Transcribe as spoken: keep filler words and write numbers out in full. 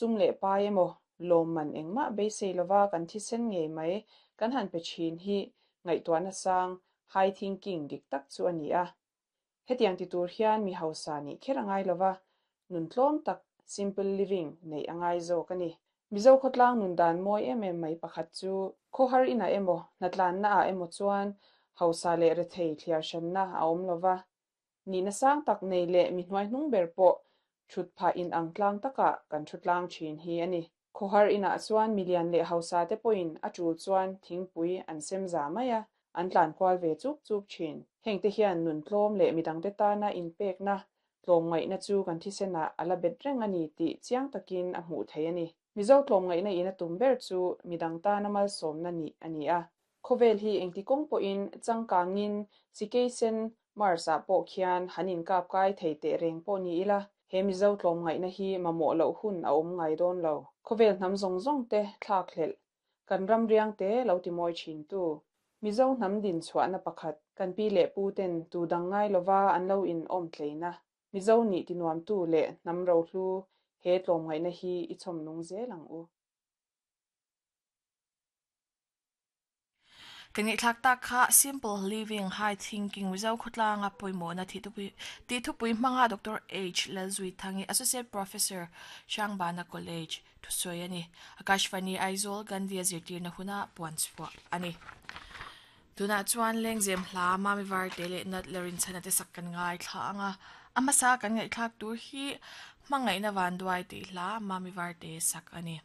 Sum leh pai emaw lawmman engmah beisei lova kan thisen ngei mai kan han pe thin hi ngaihtuahna sang high thinking dik tak chu a ni a. Hetiang ti tur hian mi hausa nih kher a ngai lova, nun tlawm tak simple living neih a ngai zawk a ni. Mizo khawtlang nun dan mawi em em mai pakhat chu khawhar inah emaw hnatlanna ah emaw chuan hausa leh rethei thliar hranna a awm lova. Nihna sang tak nei leh mi hnuai hnung ber pawh thut phah in ang tlang takah kan thu tlang thin hi a ni. Khawhar inah chuan milian leh hausa te pawhin a tul chuan thingpui an sem za mai a, an tlan kual ve chuk chuk thin. Heng te hian nun tlawm leh midang te tana inpekna tlawmngaihna chu kan thisenah a la bet reng a ni tih chiang takin a hmuh theih a ni. Mizo tlawmngaihna in a tum ber chu midang tana malsawmna nih a ni a. Khawvel hi engti kawng pawhin changkangin sikeisen Mars ah pawh khian han inkap kai thei teh reng pawh ni ila he Mizo tlawmngaihna hi mamawh loh hun a awm ngai dawn lo. Khawvel hnam zawng zawng te thlak hlelh kan ram riang te lo ti mawi thin tu. Mizo hnam din chhuahna pakhat kan pi leh pu ten tu dang ngai lova an lo in awm tleina. Mizo nih ti nuam tu leh hnam ro hlu he tlawmngaihna hi i chhawm nung zel ang u. Kan ngaihthlak tak kha simple living high thinking Mizo khawtlanga pawimawhna thi thupui ti thupui hmanga Doctor H Lalzuithangi Associate Professor Hrangbana College thusawi a ni. Akashvani Aizawl Gandhi a zirtirna huna puan chhuah a ni. Tunah chuan lengzem hla Mami Varte leh Nat Lerin chhana te sak kan ngai thla anga a hmasa kan ngaihthlak tur hi hmangaihna vanduai tih hla Mami Varte sak a ni.